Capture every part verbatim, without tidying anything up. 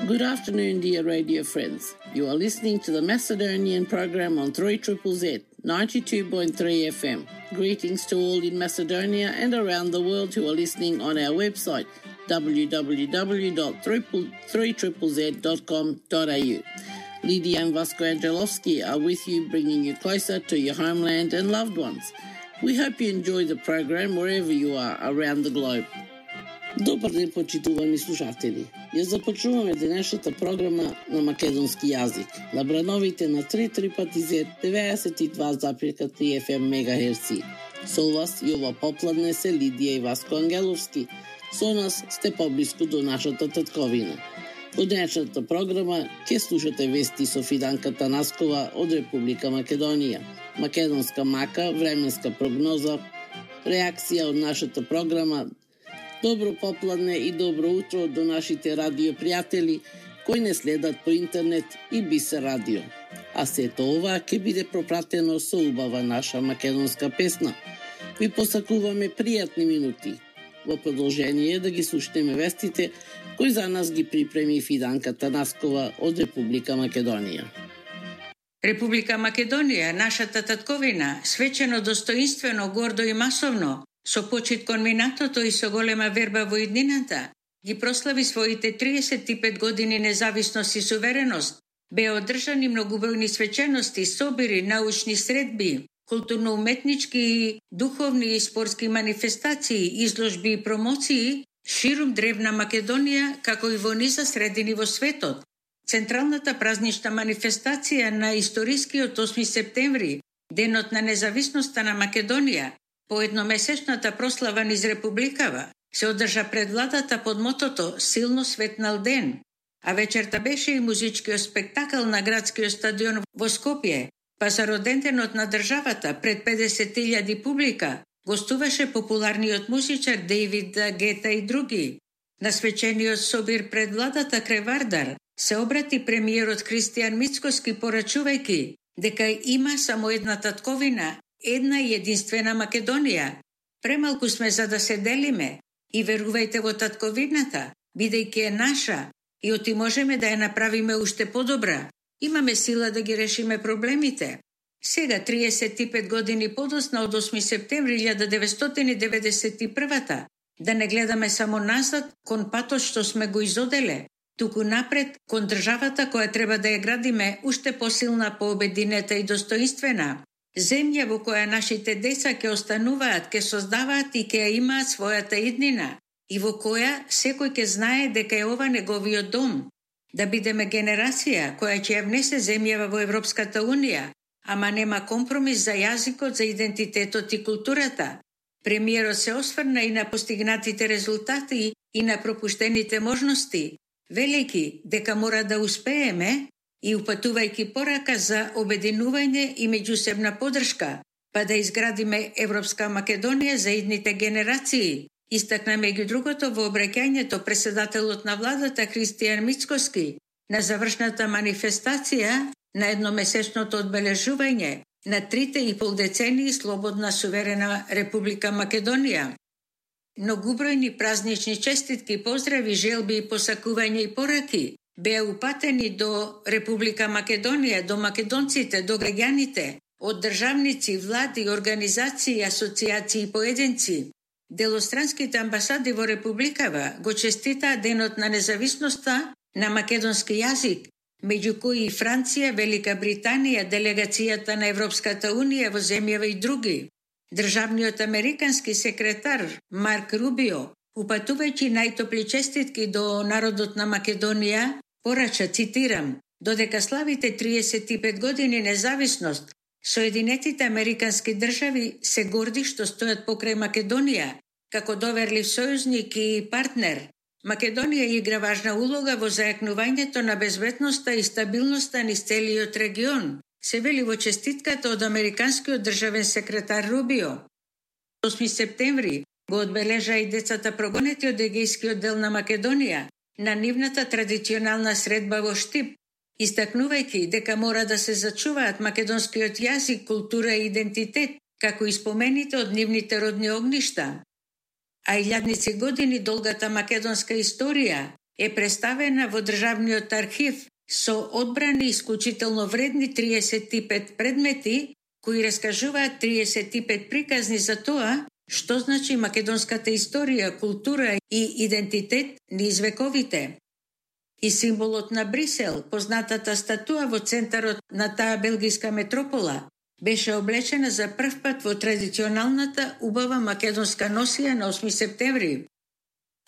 Good afternoon, dear radio friends. You are listening to the Macedonian program on three Z Z Z, ninety-two point three F M. Greetings to all in Macedonia and around the world who are listening on our website, w w w dot three z z dot com dot a u. Lydia and Vasco Angelovski are with you, bringing you closer to your homeland and loved ones. We hope you enjoy the program wherever you are around the globe. Добар ден, почитувани слушатели. Ја започнуваме денешната програма на македонски јазик на брановите на три три пати зет деветдесет и два запирка три Ф М мегахерци. Со вас и ова попладне се Лидија и Васко Ангеловски. Со нас сте поблиску до нашата татковина. Во денешната програма ќе слушате вести со Фиданка Танаскова од Република Македонија, македонска мака, временска прогноза, реакција од нашата програма. Добро попладне и добро утро до нашите радиопријатели кои не следат по интернет и Бисер радио. А сето ова ќе биде пропратено со убава наша македонска песна. Ви посакуваме пријатни минути. Во продолжение да ги слушнеме вестите кои за нас ги припреми Фиданка Танаскова од Република Македонија. Република Македонија, нашата татковина, свечено, достоинствено, гордо и масовно, со почит кон минатото и со голема верба во иднината, ги прослави своите триесет и пет години независност и сувереност, беа одржани многобројни свечености, собири, научни средби, културно-уметнички, духовни и спортски манифестации, изложби и промоции ширум древна Македонија, како и во низа средини во светот. Централната празнична манифестација на историскиот осми септември, денот на независноста на Македонија, по едномесечната прослава низ Републикава, се одржа пред владата под мотото «Силно светнал ден», а вечерта беше и музичкиот спектакл на градскиот стадион во Скопје, па за роденденот на државата пред педесет илјади публика гостуваше популарниот музичар Дейвид Гета и други. На свечениот собир пред владата крај Вардар се обрати премиерот Христијан Мицкоски порачувајќи дека има само една татковина, една и единствена Македонија. Премалку сме за да се делиме и верувајте во татковината, бидејќи е наша и оти можеме да ја направиме уште подобра. Имаме сила да ги решиме проблемите. Сега, триесет и пет години подоцна од осми септември илјада деветстотини деветдесет и прва, да не гледаме само назад кон патот што сме го изоделе, туку напред кон државата која треба да ја градиме уште посилна, пообединета и достоинствена. Земја во која нашите деца ќе остануваат, ќе создаваат и ќе ја имаат својата иднина, и во која секој ќе знае дека е ова неговиот дом. Да бидеме генерација која ќе ја внесе земјава во Европската унија, ама нема компромис за јазикот, за идентитетот и културата. Премиерот се осврна и на постигнатите резултати и на пропуштените можности, велејќи дека мора да успееме и упатувајќи порака за обединување и меѓусебна поддршка, па да изградиме Европска Македонија за идните генерации. Истакна меѓу другото во обраќањето председателот на владата Христијан Мицкоски на завршната манифестација на едномесечното одбележување на трите и пол децении слободна суверена Република Македонија. Многубројни празнични честитки, поздрави, желби и посакувања и пораки беа упатени до Република Македонија, до македонците, до граѓаните, од државници, влади, организации, асоциации и поединци. Делостранските амбасади во Републикава го честитаа денот на независноста на македонски јазик, меѓу кои и Франција, Велика Британија, делегацијата на Европската унија во земјава и други. Државниот американски секретар Марк Рубио, упатувајќи најтопли честитки до народот на Македонија, порача, цитирам, додека славите триесет и пет години независност, Соединетите американски држави се горди што стојат покрај Македонија, како доверлив сојузник и партнер. Македонија игра важна улога во зајакнувањето на безбедноста и стабилноста низ целиот регион, се вели во честитката од американскиот државен секретар Рубио. осми септември го одбележа и децата прогонети од егејскиот дел на Македонија на нивната традиционална средба во Штип, истакнувајќи дека мора да се зачуваат македонскиот јазик, култура и идентитет, како и спомените од нивните родни огништа. А илјадници години долгата македонска историја е представена во Државниот архив со одбрани исклучително вредни триесет и пет предмети кои раскажуваат триесет и пет приказни за тоа што значи македонската историја, култура и идентитет низ вековите. И символот на Брисел, познатата статуа во центарот на таа белгиска метропола, беше облечена за прв пат во традиционалната убава македонска носија на осми септември.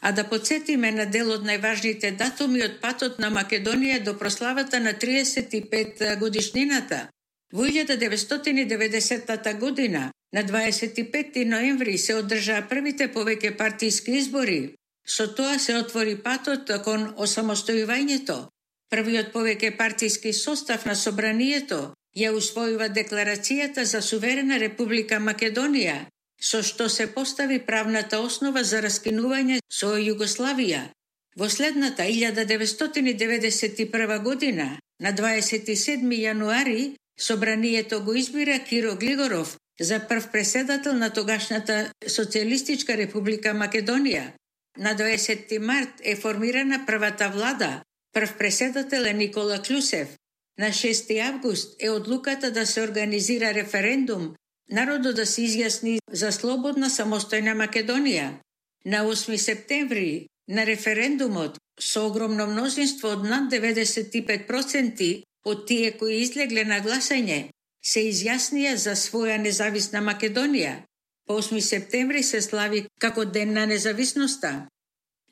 А да подсетиме на дел од најважните датуми од патот на Македонија до прославата на триесет и пет годишнината. Во илјада деветстотини и деветдесетата година, на дваесет и петти ноември, се одржаа првите повеќе партиски избори. Со тоа се отвори патот кон осамостојувањето. Првиот повеќе партиски состав на собранието ја усвојува декларацијата за суверена Република Македонија, со што се постави правната основа за раскинување со Југославија. Во следната илјада деветстотини деветдесет и прва година, на дваесет и седми јануари, собранието го избира Киро Глигоров за прв преседател на тогашната Социјалистичка Република Македонија. На дваесетти март е формирана првата влада, прв преседател е Никола Клюсев. На шести август е одлуката да се организира референдум, народот да се изјасни за слободна самостојна Македонија. На осми септември, на референдумот, со огромно мнозинство од над деветдесет и пет проценти од тие кои излегле на гласање, се изјаснија за своја независна Македонија. По осми септември се слави како Ден на независноста.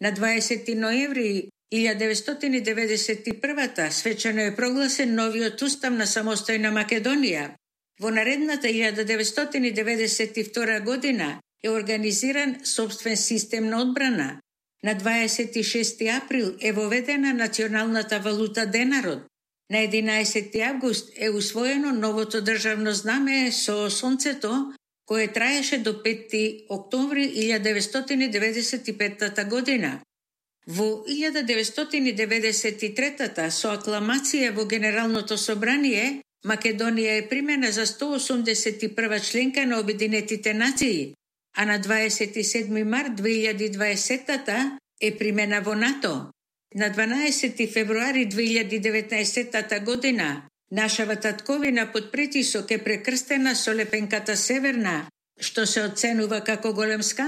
На дваесети ноември илјада деветстотини деветдесет и прва свечено е прогласен новиот устав на самостојна Македонија. Во наредната илјада деветстотини деветдесет и втора година е организиран собствен систем на одбрана. На дваесет и шести април е воведена националната валута денарот. На единаесети август е усвоено новото државно знаме со сонцето, кое траеше до петти октомври илјада деветстотини деветдесет и петта година. Во илјада деветстотини деветдесет и трета со акламација во Генералното собрание, Македонија е примена за сто осумдесет и прва членка на Обединетите нации, а на дваесет и седми март две илјади и дваесетта е примена во НАТО. На дванаесети февруари две илјади и деветнаесетта година нашава татковина под притисок е прекрстена со лепенката Северна, што се оценува како голем скандал